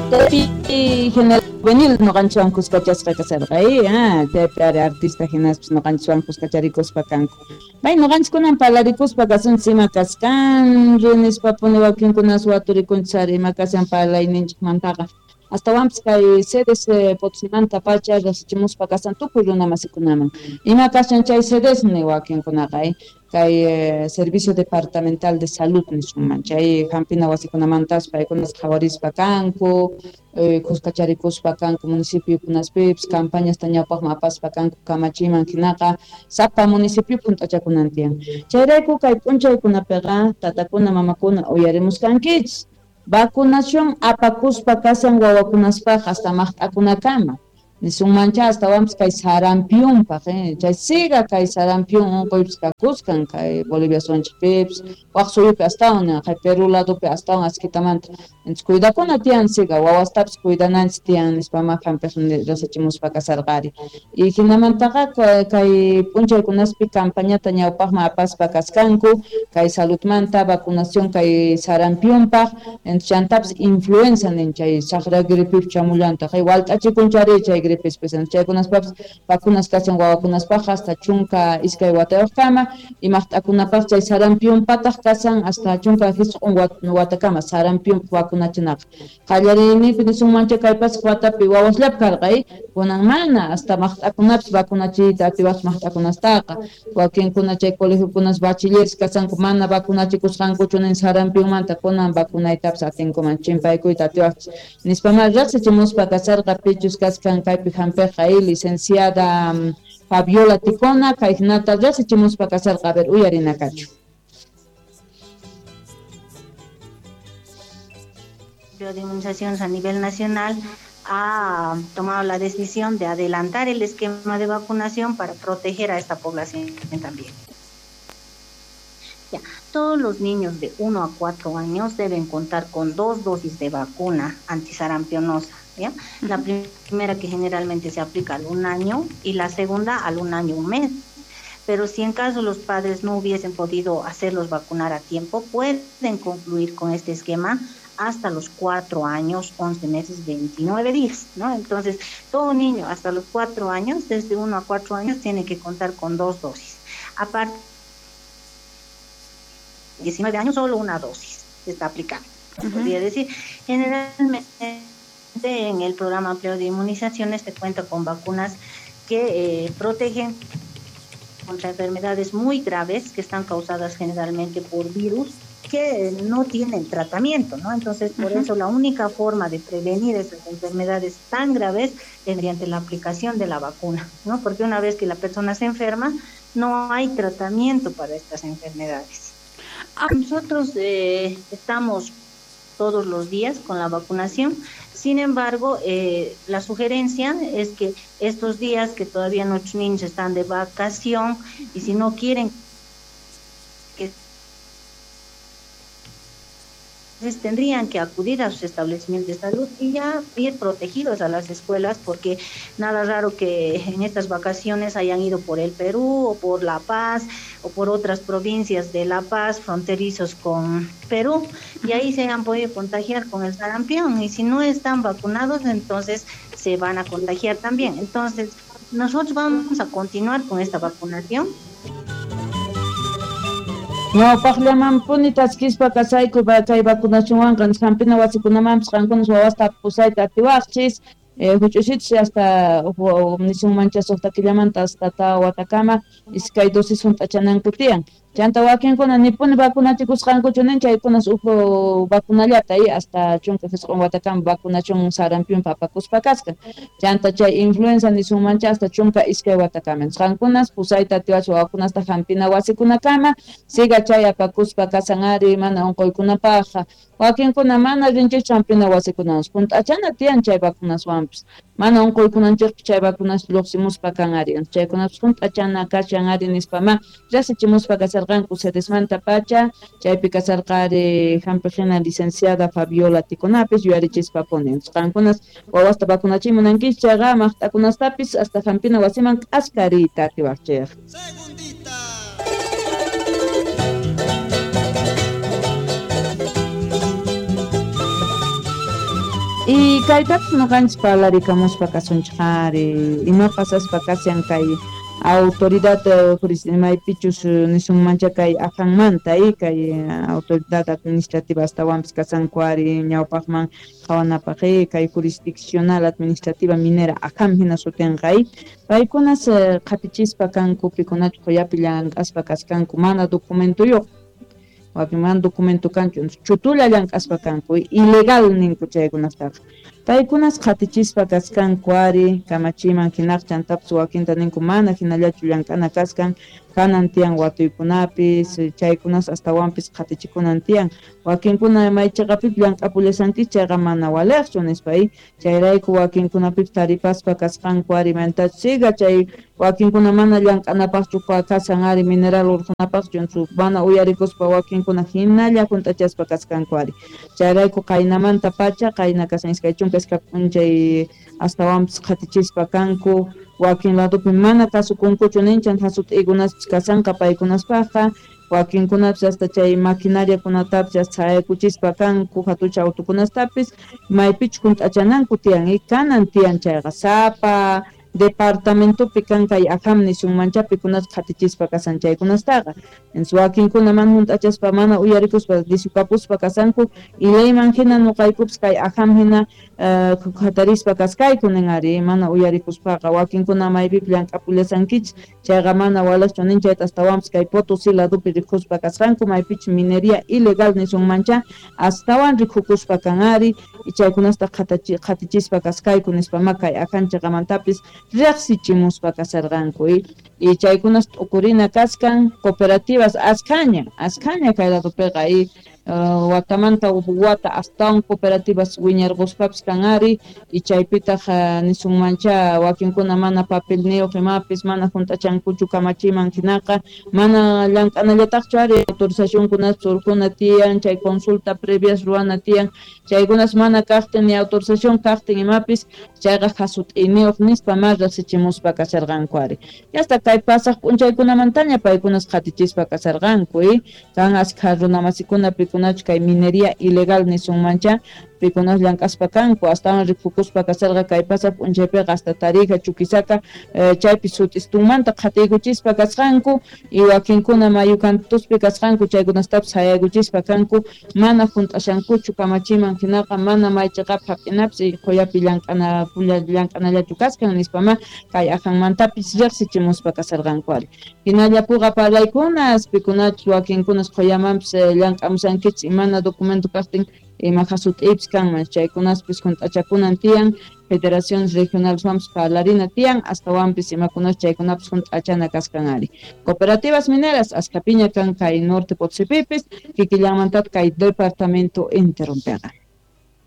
Chaypi general juvenil noqanchikwan kuskachasqa kasarqa, chaypi ari artista hinaspis noqanchikwan kuskacharikuspa kanku. May noqanchikkunan parlarikuspa kasunchis ima kasqanri nispapuni wakinkunas waturikunchis ari ima kashan parlayninchikmantaqa. Astawanpis kay sedes Potosimantapacha riqsichimuspa kasan tukuy runa masikunaman. Ima kashan chay sedes ni wakinkunaqa, kay Servicio Departamental de Salud nisunman, chay hampina wasikunamantas paykunas qhawarispa kanku, kuskacharikuspa kanku municipiokunaspipis, campañasta ñawpaqman apaspa kanku kamachiman hinaqa sapa municipio hunt'achakunan tiyan. Chayrayku kay p'unchaykunapiqa tatakuna mamakuna uyarimusqankichis. Vacunación apakuspa kasan wawakunaspaq hasta maqt'akunakama. Nisunmancha astawanpis kay sarampiunpaq, chay siga kay sarampiun unquypis kakuskan kay Bolivia suyunchikpipis, waq suyupi astawan, kay Perú ladopi astawan askitamanta. Entonces cuidakuna tiyan siga, wawastapis cuidananchis tiyan nispa ma hampiq riqsichimuspa kasarqari. Y hinamantaqa kay p'unchaykunaspi campañata ñawpaqman apaspa kaskanku, kay saludmanta vacunación kay sarampiunpaq, entonces chantapis influenza nin chay saqra gripip chamullantaq, kay walt'achikunchari chay gripis chaykunaspapis vacunas kashan wawakunaspaq hasta 12 watayuqkama, y maqt'akunapaq chay sarampiunpataq kashan hasta 19 watakama sarampiunpaq vacunachinaqa. Qallariyninpi nisunmancha kay pasaq watapi wawasllapi karqa, kunan mana hasta maqt'akunapis vacunachiyta atiwaqchu maqt'akunastaqa. Wakinkuna chay colegiokunas bachilleres kashanku mana vacunachikusqankuchu nin sarampiunmanta kunan vacunaytapis atinkuman chimpaykuyta atiwaqchis nispa ma riqsichimuspa kasarqa pichus kaskan kaypi hampiqqa, licenciada Fabiola Ticona, kay hinata riqsichimuspa kasarqa, a ver, uyarinakachu. De inmunizaciones a nivel nacional ha tomado la decisión de adelantar el esquema de vacunación para proteger a esta población también. Ya, todos los niños de 1 a 4 años deben contar con 2 dosis de vacuna antisarampionosa, ¿ya? La primera que generalmente se aplica al 1 año y la segunda al 1 año 1 mes. Pero si en caso los padres no hubiesen podido hacerlos vacunar a tiempo, pueden concluir con este esquema hasta los 4 años, 11 meses, 29 días, ¿no? Entonces, todo niño hasta los 4 años, desde 1 a 4 años, tiene que contar con 2 dosis. Aparte, 19 años, solo una dosis se está aplicando. Podría decir, generalmente en el programa amplio de inmunizaciones se cuenta con vacunas que protegen contra enfermedades muy graves que están causadas generalmente por virus que no tienen tratamiento, ¿no? Entonces, por eso la única forma de prevenir esas enfermedades tan graves es mediante la aplicación de la vacuna, ¿no? Porque una vez que la persona se enferma, no hay tratamiento para estas enfermedades. Nosotros estamos todos los días con la vacunación. Sin embargo, la sugerencia es que estos días que todavía nuestros niños están de vacación y si no quieren que entonces tendrían que acudir a sus establecimientos de salud y ya ir protegidos a las escuelas, porque nada raro que en estas vacaciones hayan ido por el Perú o por La Paz o por otras provincias de La Paz fronterizos con Perú, y ahí se han podido contagiar con el sarampión, y si no están vacunados, entonces se van a contagiar también. Entonces nosotros vamos a continuar con esta vacunación. Ñawpaqllamanpuni taskispa kasayku kay vacunacionwanqa hampina wasikunamanpis qankunas wawasta pusayta atiwaqchis, huch'usichis hasta nisunmancha suqta killamanta hasta tawa watakama iskay dosis hunt'achananku tiyan. Chanta wakinkuna nipuni vacunachikusqankuchu nin chaykunas uj vacunallata hasta 19 watakama vacunación sarampiunpa apakuspa kasqa. Chanta chay influenza nisunmancha hasta 12 watakama. Qankunas pusayta atiwach wawakunasta hampina wasikunakama siga chay apakuspa kasan ari mana unquykunapaqqa. Wakinkuna mana rinchikchu hampina wasikunawan hunt'achana tiyan chay vacunaswanpis. Mana unquykunanchikpi chay vacunas lluqsimuspa kan ari. Chaykunapas hunt'achana kashan ari nispa ma riqsichimuspa kasarqanku sedesmanta pacha chaypi kasarqa ari hampiqhina licenciada Fabiola Ticonapis yuyarichispa puni. Qankunas wawasta vacunachiy munankichis chayqa maqt'akunastapis hasta hampina wasiman k'askariyta atiwaqchik. Y kaytapis noqanchis parlarikamuspa kasunchik ari ima pasaspa kashan kay autoridad maypichus nisunmancha kay ajanmanta kay autoridad administrativa astawanpis kasanku ari ñawpaqman qhawanapaq kay jurisdiccional administrativa minera ajam hina sutinqa paykunas qhatichispa kanku pikunachu qhuyapi llank'aspa kaskanku mana documentuyuq wakin mana documento kanchu chutulla llank'aspa kanku ilegal ninku chaykunastaqa paykunas qhatichispa kaskanku ari kamachiman hinaq chantapis wakinta ninku mana hinallachu llank'ana kaskan kanan tiyan watuykunapis chaykunas astawanpis qhatichikunan tiyan wakinkuna may chiqapipis llank'apullashanchis chayqa mana waliqchu nispa chayrayku wakinkunapipis taripaspa kasqanku ari maytachus siga chay wakinkuna mana llank'anapaqchu kashan ari mineral urqunapaqchu mana uyarikuspa wakinkuna hinalla hunt'achaspa kasqanku ari chayrayku qaynamanta pacha qayna kashan 22 p'unchay astawanpis qhatichispa kanku wakin ladopi mana kasukunkuchu ninchan hasut'ikunaspis kashanqa paykunaspaqqa wakinkunapis hasta chay maquinariakunatapis hasta sayaykuchispa kanku hatucha autokunastapis maypichu hunt'achananku tiyan kanan tiyan chayqa sapa departamentopi kan kay ajam nisunmancha pikunas qhatichispa kasan chaykunastaqa entonces wakinkuna mana hunt'achaspa mana uyarikuspa disukapuspa kasanku ilayman hina nuqaykupis kay ajam hina hatarispa kaskayku nin ari mana uyarikuspaqa wakinkuna maypipi llank'apullashankichis chayqa mana walaqchu nin chayta astawanpis kay Potosí ladopi rikuspa kasqanku maypichu minería ilegal nisunmancha astawan rikukuspa kan ari chaykunasta qhatichispa kaskayku nispama kay ajan chiqamantapis riqsichimuspa kasarqanku y chaykunas t'ukurina kaskan cooperativas askhaña kay ladopiqa y watamanta wata astawan cooperativas wiñarquspapis kan ari y chaypitaq nisunmancha wakinkuna mana papelniyuq imapis mana hunt'achankuchu kamachiman hinaqa mana llank'anallataqchu ari autorizacionkunas surquna tiyan chay consulta previas ruwana tiyan chaykunas mana kaqtin ni autorización kaqtin imapis chayqa hasut'iniyuq nispa ma riqsichimuspa kasharqanku ari hasta kay pasaq p'unchaykunamantaña paykunas qhatichispa kasharqanku kan askha runamasikuna pikunachu kay minería ilegal nisunmancha pikunas llank'aspa kanku astawan rikukuspa kasarqa kay pasaq p'unchaypiqa hasta Tarija Chuquisaca chaypi sut'istunmanta qhatiykuchispa kasqanku y wakinkuna mayukantuspi kasqanku chaykunastapis hayaykuchispa kanku mana hunt'ashankuchu kamachiman hinaqa mana may chiqap hap'inapis qhuyapi llank'anallachu kaskan nispama kay ajanmantapis riqsichimuspa kasarqanku ari hinallapuqa parlaykunas pikunachus wakinkunas qhuyamanpis llank'amushankichis imana documento kaqtin ima hasut'ipis kanman chaykunaspis hunt'achakunan tiyan federaciones regionales wanpis parlarina tiyan astawanpis imakunas chaykunapis hunt'achana kaskan ari cooperativas mineras askapiña kan kay norte Potosipipis kikillanmantataq kay departamento enteronpiqa.